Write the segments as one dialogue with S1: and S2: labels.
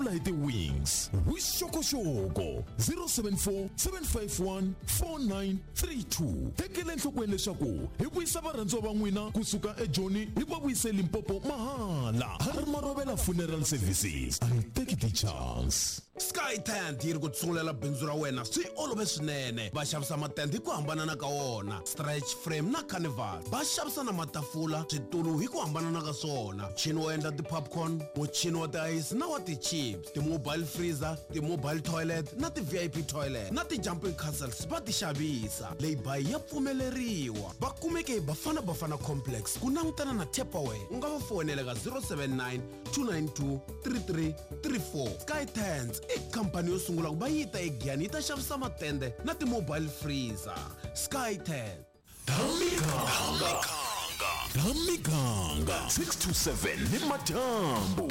S1: vulavula hi ti-wings. Vuxokoxoko 074 751 4932. Tekela enhlokweni leswaku hi vuyisa varhandziwa va n'wina kusuka eJoni hi va vuyise Limpopo mahala. Harry Marovela Funeral Services. A hi teki ti-chance.
S2: Sky Tent yi ri ku tsungulela bindzu ra wena swi olove swinene. Va xavisa matende hi ku hambanana ka wona, stretch frame na carnival. Va xavisa na matafula, switulu hi ku hambanana ka swona, muchini wo endla ti-popcorn, muchini wa tiayisi na wa ti-chips, ti-mobile freezer, ti-mobile toilet na ti-VIP toilet na ti-jumping castles va ti xavisa. Lay-by ya pfumeleriwa. Va kumeke Bafana Bafana Complex ku langutana na Tupperware. U nga va foyinela ka 079 292 3334. Sky Tents i khampani yo sungula ku va yi ta eGiyani yi ta xavisa matende na ti-mobile freezer. Sky Tent.
S1: Tamiganga. Tamiganga 6 to 7 ni madyambu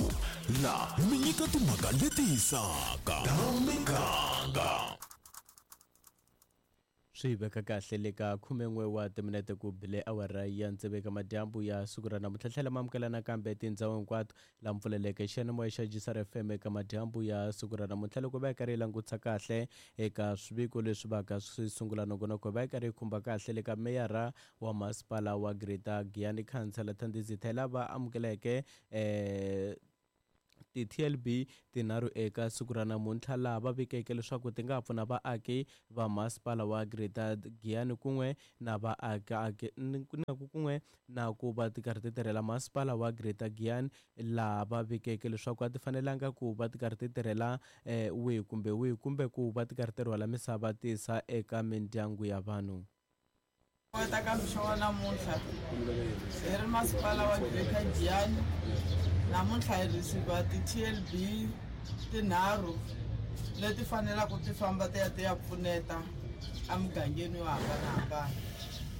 S1: la mi nyika timhaka leti hisaka. Tamiganga.
S3: Swi veka kahle le ka 11 wa timinete ku bile awara ya tsevu eka madyambu ya siku ra namuntlha. Tlhela ma amukela nakambe tindhawu hinkwato la mpfuleleke xiyanimoya xa GCR FM eka madyambu ya siku ra namuntlha. Loko va yi karhi yi langutisa kahle eka swiviko leswi vaka swi sungula nongonoko, va yi karhi yi khumba kahle le ka meyara wa masipala wa Greater Giyani Khansela Thandizitha lava amukeleke ti-TLB tinharhu eka siku ra namuntlha, laha va vikeke leswaku ti nga pfuna vaaki va masipala wa Greater Giyani kun'we na vaaki na kun'we na ku va ti karhi ti tirhela masipala wa Greater Giyani, laha va vikeke leswaku a ti fanelanga ku va ti karhi ti tirhela wihi kumbe wihi kumbe ku va ti karhi ti rhwala misava ti yisa eka mindyangu ya vanhu.
S4: Kota ka mixo wa namuntlha hi ri masipala wa Greater Giyani, namuntlha hi receive ti-TLB tinharhu leti fanelaka ti famba ti ya ti ya pfuneta emugangeni yo hambanahambana,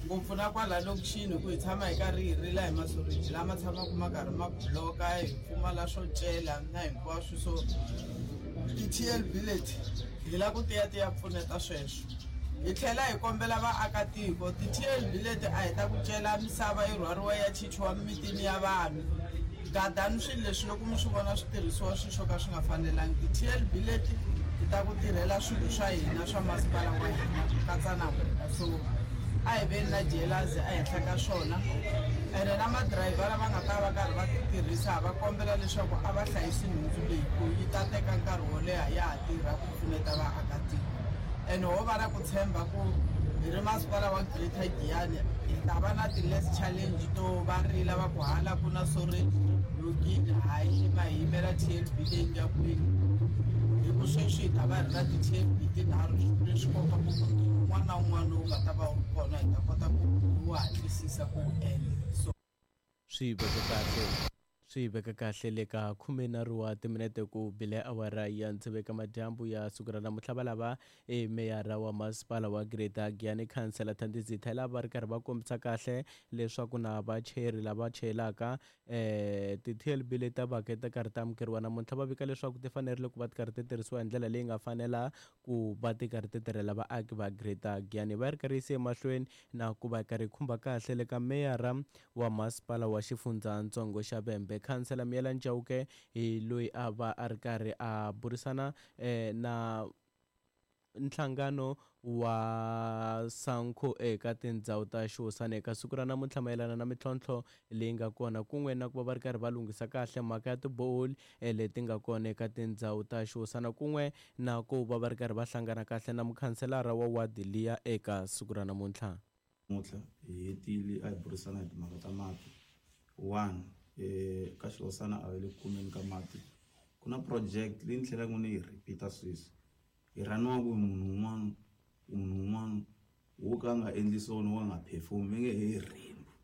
S4: ngopfu na kwala lokixini, ku hi tshama hi karhi hi rila hi masoriji lama tshamaka ma karhi ma bloka, hi pfumala swo cela na hinkwaswo. So ti-TLB leti hi lava ku ti ya ti ya pfuneta sweswo. Hi tlhela hi kombela vaakatiko, ti-TLB leti a hi ta ku cela misava yi rhwariwa ya chichiwa mimitini ya vanhu. Gadani swilo leswi loko mi swi vona swi tirhisiwa swilo swo ka swi nga fanelangi. Ti-TLB leti ti ta ku tirhela swilo swa hina swa masipala wa hina ku katsa na n'wina, so a hi veni na jealousy ehenhla ka swona. Ene na madirayivha lava nga ta va karhi va ti tirhisa, va kombela leswaku a va hlayisi nhundzu leyi ku yi ta teka nkarhi wo leha ya ha tirha ku pfuneta vaakatiko. Ene ho va na ku tshemba ku hi ri masipala wa Greater Giyani hi ta va na ti-less challenge to va rila va ku hala ku na storage blokini, hayi yima hi yimela TLB leyi nga kwini, hi ku sweswi hi ta va hi ri na ti-TLB tinharhu, leswi komba ku un'wana na un'wana lowu nga ta va wu ri kona hi ta kota ku wu hatlisisa ku wu endla. So
S3: Swi veke kahle swi veka kahle le ka 13 wa timinete ku bile awara ya tsevu eka madyambu ya siku ra namuntlha. Va lava e meyara wa masipala wa Greater Giyani Khansela Thandizitha lava ri karhi va kombisa kahle leswaku na vachayeri lava chayelaka ti-TLB leti ta vaka ti karhi ta amukeriwa namuntlha, va vika leswaku ti fanerile ku va ti karhi ti tirhisiwa hi ndlela leyi nga fanela ku va ti karhi ti tirhela vaaki va Greater Giyani. Va ri karhi yise emahlweni na ku va karhi khumba kahle le ka meyara wa masipala wa xifundzatsongo xa Vhembe Khansela Miyela Chauke, hi loyi a va a ri karhi a burisana na nhlangano wa Sanco eka tindhawu ta xihosana eka siku ra namuntlha mayelana na mintlhontlho leyi nga kona kun'we na ku va va ri karhi va lunghisa kahle mhaka ya tiboholi leti nga kona eka tindhawu ta xihosana kun'we na ku va va ri karhi va hlangana kahle na mukhanselara wa wadi liya eka siku ra namuntlha.
S5: Namuntlha hi hetile a hi burisana hi timhaka ta mati. One, ka xihosana a va le ku kumeni ka mati. Ku na project leyi ni tlhelaka ni yi repeat-a sweswi, yi rhaniwaku hi munhu un'wana, munhu un'wana wo ka a nga endli swona, wo ka a nga perform, va nge he Rainbow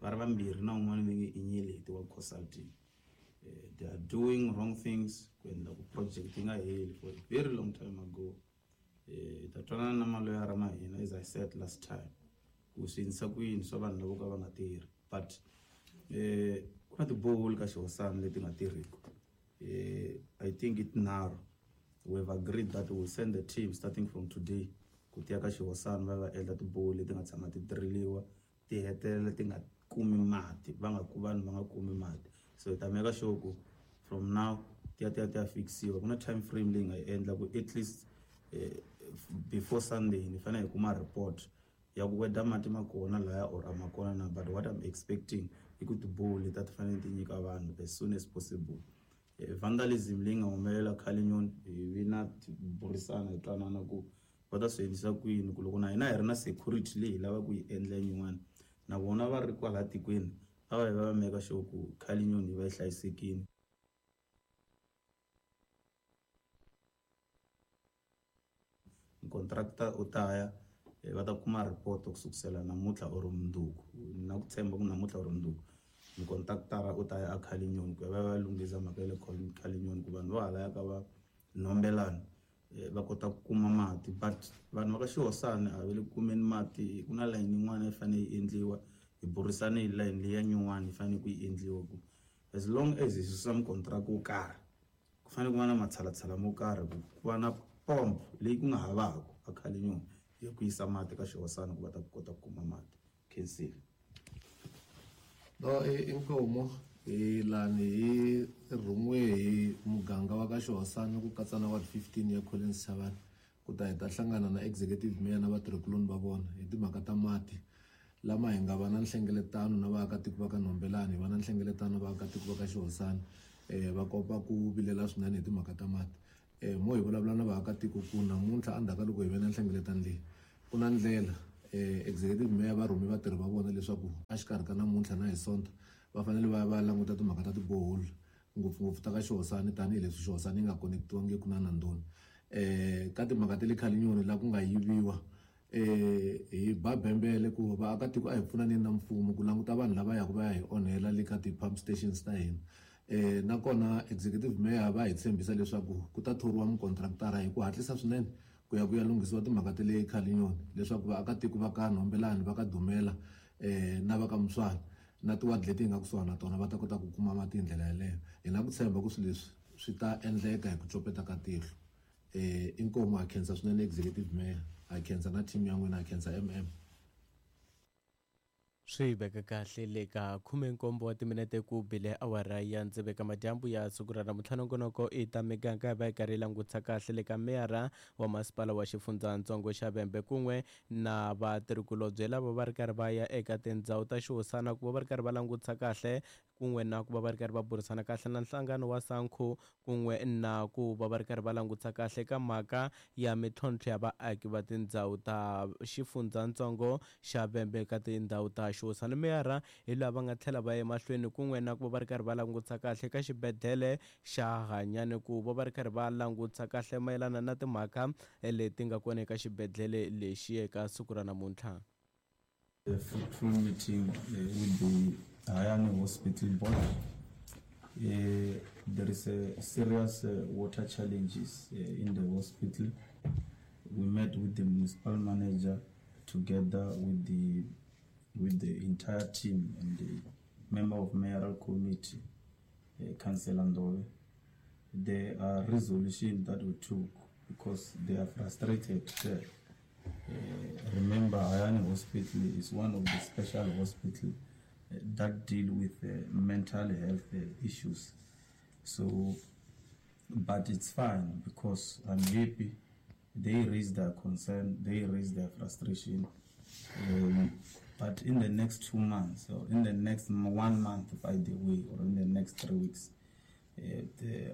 S5: va ri vambirhi na un'wana va nge i Nyeleti wa consulting. They are doing wrong things ku endla ku project yi nga heli for a very long time ago. Hi ta twanana na maloyara ma hina, as I said last time, ku swi endlisa ku yini swa vanhu lavo ka va nga tirhi. But ku na tiboholi ka xihosana leti nga tirhiku. I think i tinharhu. We have agreed that we will send the team starting from today ku tiya ka xihosana va ya va endla tiboholi leti nga tshama ti driliwa ti hetelela ti nga kumi mati, va nga ku vanhu va nga kumi mati. So hi ta make sure ku from now ti ya ti ya ti ya fikisiwa. Ku na time frame leyi nga yi endla ku at least before Sunday ni fanele hi kuma report ya ku whether mati ma kona laya or a ma kona na. But what I'm expecting i ku tiborehole leti a ti fanele ti nyika vanhu as soon as possible. Vandalism leyi nga humelela Cullinan, hi vi na burisana hi twanana ku va ta swi endlisa ku yini, ku loko na hina hi ri na security leyi hi lavaka ku yi endla yin'wana, na vona va ri kwala tikweni a va yi va va make sure ku Cullinan yi va yi hlayisekile. Contractor u ta ya, va ta kuma report ku sukusela namuntlha or mundzuku, na ku tshemba ku namuntlha or mundzuku mukontraktara u ta ya a Cullinan ku ya va ya lunghisa mhaka ya le Cullinan, ku vanhu va halaya ka va Nhombelani va kota ku kuma mati. But vanhu va ka Xihosana a va le ku kumeni mati, ku na layini yin'wana yi fanele yi endliwa, hi burisane hi layini leyi ya nyuwani yi fanele ku yi endliwa, ku as long as hi susa mukontraka wo karhi ku fanele ku va na matshalatshala mo karhi ku va na pomp leyi ku nga havaku a Cullinan ya ku yisa mati ka Xihosana ku va ta kota ku kuma mati. Khensile.
S6: No, inkomo hi lani hi rhumiwe hi muganga wa ka Xihosana ku katsa na ward 15 ya Collins Chabane ku ta hi ta hlangana na executive mayor na vatirhikuloni va vona hi timhaka ta mati lama hi nga va na nhlengeletano na vaakatiko va ka Nhombelani, hi va na nhlengeletano na vaakatiko va ka Xihosana, va kopa ku vilela swinene hi timhaka ta mati. Mo hi vulavula na vaakatiko ku namuntlha endzhaku ka loko hi ve na nhlengeletano leyi ku na ndlela, executive mayor va rhume vatirhi va vona leswaku exikarhi ka namuntlha na hi Sonto va fanele va ya va languta timhaka ta tiborehole ngopfungopfu ta ka Xihosana, tanihileswi Xihosana yi nga connectiwangiki na Nandoni. Ka timhaka ta le Cullinan laha ku nga yiviwa, hi ba bembele ku vaakatiko a hi pfunaneni na mfumo ku languta vanhu lava yaka va ya hi onhela le ka ti-pump stations ta hina. Nakona executive mayor va hi tshembisa leswaku ku ta thoriwa mukontraktara hi ku hatlisa swinene ku ya ku ya lunghisiwa timhaka ta le Cullinan, leswaku vaakatiko va ka Nhombelani, va ka Dumela, na va ka Muswana na tiwadi leti hi nga kusuhana na tona va ta kota ku kuma mati hi ndlela yeleyo. Hi na ku tshemba ku swilo leswi swi ta endleka hi ku copeta ka tihlo. Inkomu, ha khensa swinene executive mayor, ha khensa na team ya n'wina, ha khensa MM.
S3: Swi veka kahle le ka 17 wa timinete ku bile awara ya ndziveka madyambu ya siku ra namuntlha. Nongonoko i ta miganga hi va hi karhi yi langutisa kahle le ka meyara wa masipala wa xifundzatsongo xa Vhembe kun'we na vatirhikulobye lava va ri karhi va ya eka tindhawu ta xihosana ku va va ri karhi va langutisa kahle kun'we na ku va va ri karhi va burisana kahle na nhlangano wa SANCO kun'we na ku va va ri karhi va langutisa kahle ka mhaka ya mintlhontlho ya vaaki va tindhawu ta xifundzatsongo xa Vhembe ka tindhawu ta xihosana. Meyara hi lava nga tlhela va ya emahlweni kun'we na ku va va ri karhi va langutisa kahle ka xibedhlele xa Hanyane ku va va ri karhi va langutisa kahle mayelana na timhaka leti nga kona eka xibedhlele lexi eka siku ra namuntlha.
S5: A fruitful meeting with the Hayani Hospital Board. There is a serious water challenges in the hospital. We met with the municipal manager together with the entire team and the member of mayoral committee, Councillor Ndove. There are resolutions that we took because they are frustrated there. Remember, Hayani Hospital is one of the special hospitals that deal with mental health issues. So, but it's fine because I'm happy. They raised their concern, they raised their frustration. But in the next 2 months, or in the next 1 month, by the way, or in the next 3 weeks,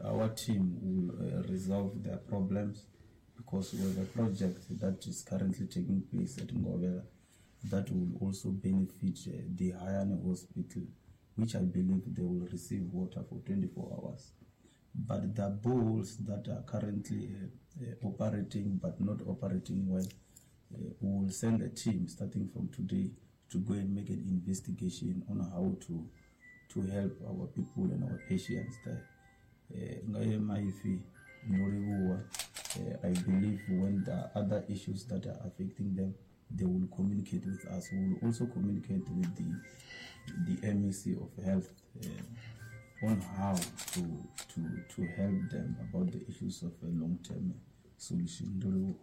S5: our team will resolve their problems, because we have a project that is currently taking place at Ngovela that will also benefit the Hayani Hospital, which I believe they will receive water for 24 hours. But the boreholes that are currently operating but not operating well, we will send a team starting from today to go and make an investigation on how to help our people and our patients there. I believe when there are other issues that are affecting them, they will communicate with us. We will also communicate with the MEC of Health on how to help them about the issues of a long-term solution.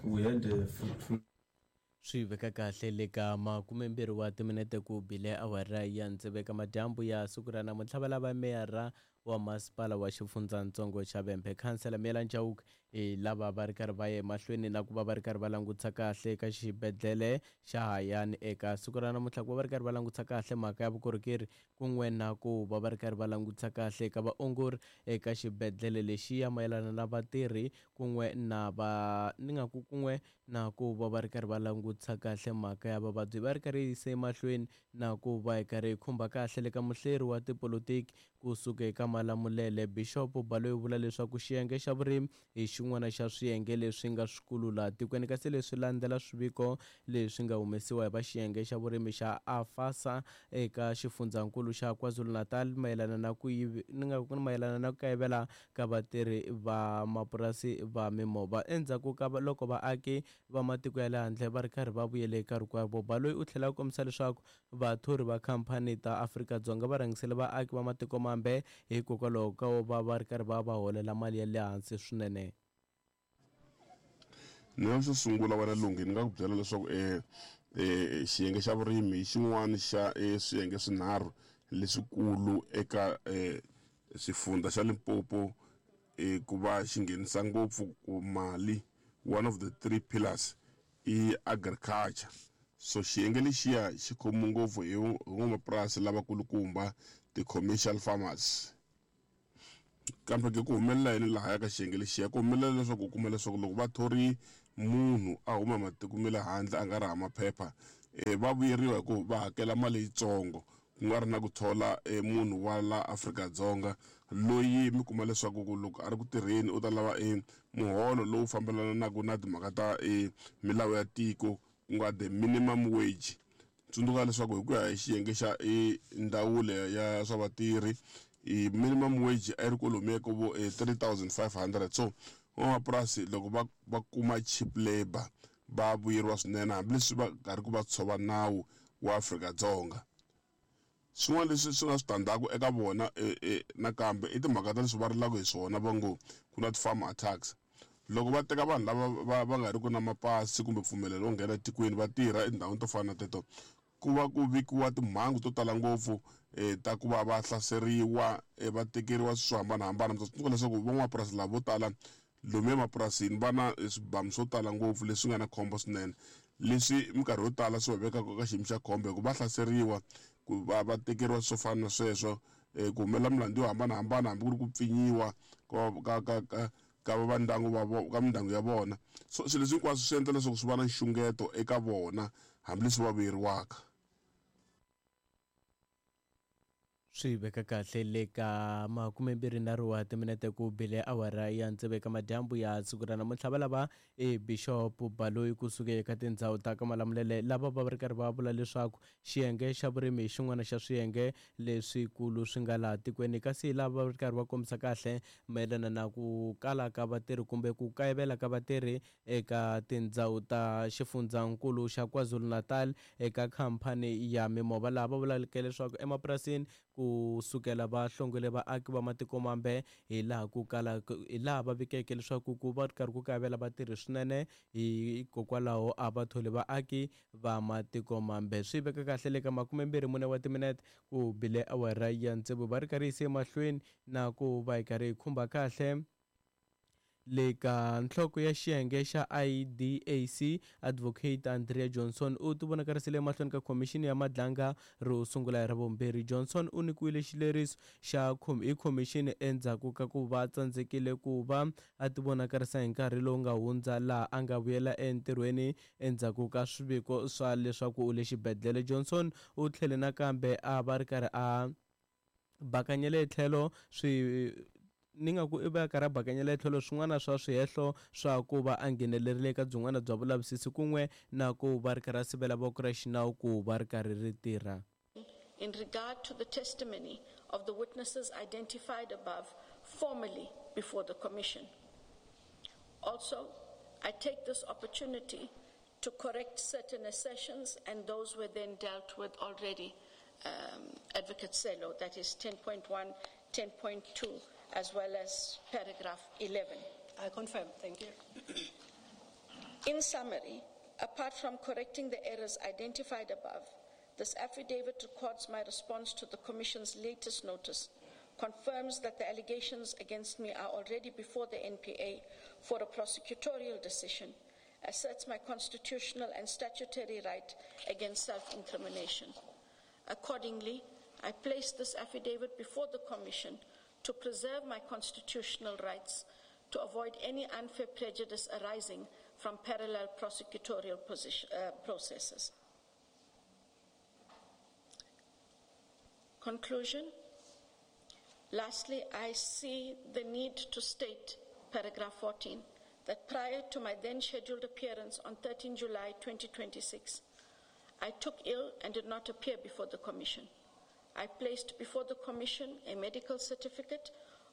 S5: We had a fruitful.
S3: Swi veka kahle le ka makumembirhi wa timinete ku bile awara ya tsevu eka madyambu ya siku ra namuntlha. Valava meyara wa masipala wa xifundzatsongo xa Vhembe, Khansela Miyelani Chauke, hi lava va ri karhi va ya emahlweni na ku va va ri karhi va langutisa kahle eka xibedhlele xa Hayani eka siku ra namuntlha, ku va va ri karhi va langutisa kahle mhaka ya vukorhokeri kun'we na ku va va ri karhi va langutisa kahle eka vaongori eka xibedhlele lexiya mayelana na vatirhi kun'we na va ni nga ku kun'we na ku va va ri karhi va langutisa kahle mhaka ya vavabyi. Va ri karhi yi yisa emahlweni na ku va hi karhi hi khumba kahle le ka muhleri wa tipolotiki kusuka eka Malamulele, Bishop Baloyi u vula leswaku xiyenge xa vurimi hi xin'wana xa swiyenge leswi nga swikulu laha tikweni, kasi leswi landzela swiviko leswi nga humesiwa hi va xiyenge xa vurimi xa AFASA eka xifundzankulu xa KwaZulu-Natal mayelana na ku ni nga ku mayelana na ku kayivela ka vatirhi va mapurasi va mimovha endzhaku ka loko vaaki va matiko ya le handle va ri karhi va vuyele eka rikwavo. Baloyi u tlhela a kombisa leswaku vathori va khamphani ta Afrika-Dzonga va rhangisele vaaki va matiko mambe hikokwalaho ka va va ri karhi va va holela mali ya le hansi swinene.
S7: Ni nga xo sungula wena Lunghi ni nga ku byela leswaku xiyenge xa vurimi hi xin'wana xa swiyenge swinharhu leswikulu eka xifundza xa Limpopo ku va xi nghenisa ngopfu ku mali. One of the three pillars i agriculture, so xiyenge lexiya xi khomiwe ngopfu hi van'wamapurasi lavakulukumba, ti-commercial farmers. Kambe ke ku humelela yini lahaya ka xiyenge lexiya? Ku humelela leswaku u kuma leswaku loko va thori munhu a huma matiko ma le handle a nga ri hava maphepha, va vuyeriwa hi ku va hakela mali yitsongo, ku nga ri na ku thola munhu wa la Afrika-Dzonga loyi mi kuma leswaku ku loko a ri ku tirheni u ta lava muholo lowu fambelanaka na timhaka ta milawu ya tiko, ku nga the minimum wage. Tsundzuka leswaku hi ku ya hi xiyenge xa ndzawulo ya swa vatirhi, minimum wage a yi ri kwalomuya ka vo 3500. So van'wamapurasi loko va kuma cheap labor va vuyeriwa swinene, hambileswi va karhi ku va tshova nawu wa Afrika-Dzonga. Swin'wana leswi swi nga switandzhaku eka vona nakambe i timhaka ta leswi va rilaka hi swona, va ngo ku na ti-farm attacks. Loko va teka vanhu lava va nga ri ku na mapasi kumbe mpfumelelo wo nghena etikweni va tirha etindhawini to fana na teto, ku va ku vikiwa timhangu to tala ngopfu ta ku va va hlaseriwa, va tekeriwa swilo swo hambanahambana. Mi ta tsundzuka leswaku van'wamapurasi lava vo tala lomu emapurasini va na swibamu swo tala ngopfu leswi nga na khombo swinene, leswi minkarhi yo tala swi va vekaka ka xiyimo xa khombo hikuva va hlaseriwa, ku va va tekeriwa swo fana na sweswo, ku humelela milandzu yo hambanahambana, hambi ku ri ku pfinyiwa ka ka ka ka ka va ndyangu va ka mindyangu ya vona. So swilo leswi hinkwaswo swi endla leswaku swi va na nxungeto eka vona hambileswi va vuyeriwaka.
S3: Swi veka kahle le ka makumembirhinharhu wa timinete ku bile awara ya tsevu eka madyambu ya siku ra namuntlha. Va lava e Bishop Baloyi kusuka eka tindhawu ta ka Malamulele lava va ri karhi va vula leswaku xiyenge xa vurimi hi xin'wana xa swiyenge leswikulu swi nga laha tikweni, kasi lava va ri karhi va kombisa kahle mayelana na ku kala ka vatirhi kumbe ku kayivela ka vatirhi eka tindhawu ta xifundzankulu xa KwaZulu-Natal eka khamphani ya mimovha, laha va vulaka leswaku emapurasini ku sukela va hlongole vaaki va matiko mambe hi laha ku kala hi laha va vikeke leswaku ku va karhi ku kayivela vatirhi swinene, hikokwalaho a va tholi vaaki va matiko mambe. Swi veka kahle le ka 24 wa timinete ku bile awara ya tsevu, va ri karhi yise emahlweni na ku va hi karhi hi khumba kahle le ka nhloko ya xiyenge xa IDAC, Advocate Andrea Johnson u tivonakarisile emahlweni ka khomixini ya Madlanga ro sungula hi Ravumbirhi. Johnson u nyikiwile xileriso xa hi khomixini endzhaku ka ku va tsandzekile ku va a tivonakarisa hi nkarhi lowu nga hundza, laha a nga vuyela entirhweni endzhaku ka swiviko swa leswaku u le xibedhlele. Johnson u tlhele nakambe a va ri karhi a bakanyela etlhelo swi ni nga ku i va karhi a bakanyela etlhelo swin'wana swa swihehlo swa ku va a nghenelerile eka byin'wana bya vulavisisi kun'we na ku va ri karhi a sivela voko ra xinawu ku va ri karhi ri tirha.
S8: In regard to the testimony of the witnesses identified above formally before the Commission. Also, I take this opportunity to correct certain assertions, and those were then dealt with already, Advocate Selo, that is 10.1, 10.2, as well as paragraph 11.
S9: I confirm, thank you.
S8: In summary, Apart from correcting the errors identified above, this affidavit records my response to the Commission's latest notice, confirms that the allegations against me are already before the NPA for a prosecutorial decision, asserts my constitutional and statutory right against self-incrimination. Accordingly, I place this affidavit before the Commission to preserve my constitutional rights, to avoid any unfair prejudice arising from parallel prosecutorial processes. Conclusion. Lastly, I see the need to state, paragraph 14, that prior to my then scheduled appearance on 13 July 2026, I took ill and did not appear before the Commission. I placed before the Commission a medical certificate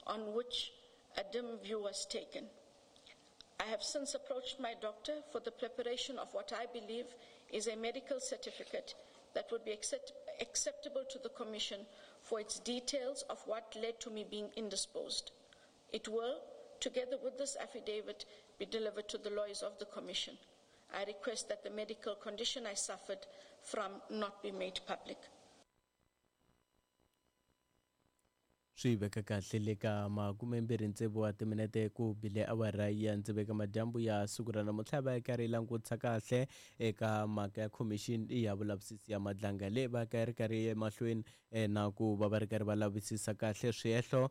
S8: on which a dim view was taken. I have since approached my doctor for the preparation of what I believe is a medical certificate that would be acceptable to the Commission for its details of what led to me being indisposed. It will, together with this affidavit, be delivered to the lawyers of the Commission. I request that the medical condition I suffered from not be made public.
S3: Swi veka kahle le ka 26 wa timinete ku bile awara ya ndziveka madyambu ya siku ra namuntlha, va karhi yi langutisa kahle eka mhaka ya khomixini ya vulavisisi ya Madlanga leyi va ka ri karhi emahlweni na ku va va ri karhi va lavisisa kahle swihehlo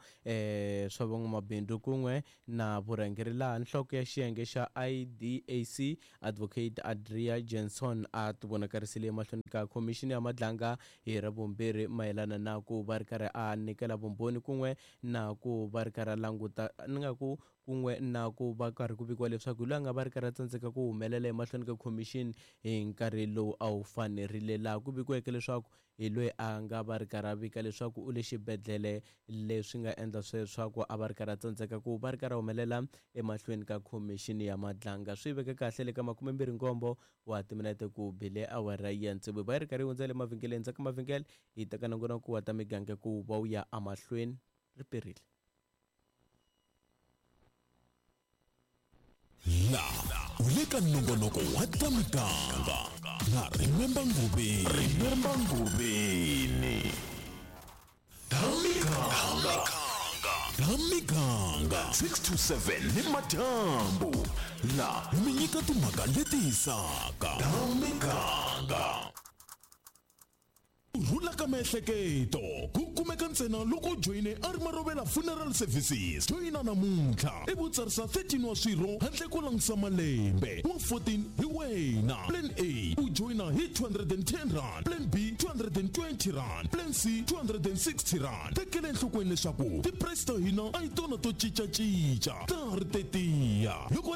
S3: swa van'wamabindzu kun'we na vurhangeri, laha nhloko ya xiyenge xa IDAC Advocate Adria Jenson a tivonakarisile emahlweni ka khomixini ya Madlanga hi Ravumbirhi mayelana na ku va ri karhi a nyikela vumbhoni kun'we na ku va ri karhi a languta ni nga ku kun'we na ku va karhi ku vikiwa leswaku hi loyi a nga va ri karhi a tsandzeka ku humelela emahlweni ka khomixini hi nkarhi lowu a wu fanerile, laha ku vikiweke leswaku hi loyi a nga va ri karhi a vika leswaku u le xibedhlele, leswi nga endla sweswaku a va ri karhi a tsandzeka ku va ri karhi a humelela emahlweni ka khomixini ya Madlanga. Swi veke kahle le ka 27 wa timinete ku bile awara ya tsevu, va yi ri karhi yi hundzela emavhengeleni. Ndzhaku ka mavhengele hi teka nongonoko wa ta miganga ku va wu ya emahlweni ri perile.
S1: La u le ka nongonoko wa ta miganga na Remember Ngubeni. Remember Ngubeni. Ta miganga. Ta miganga 6 to 7 ni madyambu. La mi nyika timhaka leti hisaka. Ta miganga. Ku rhula ka miehleketo ku kumeka ntsena loko u joyine a ri Marovela Funeral Services. Joyina namuntlha ivi u tsarisa 13 wa swirho handle ko langutisa malembe. Wa 14 hi wena. Plan A u joyina hi 210 rand, Plan B 220 rand, Plan C 260 rand. Tekela enhlokweni leswaku ti-price ta hina a hi tona to cincacinca, ta ha ri tetiya. Loko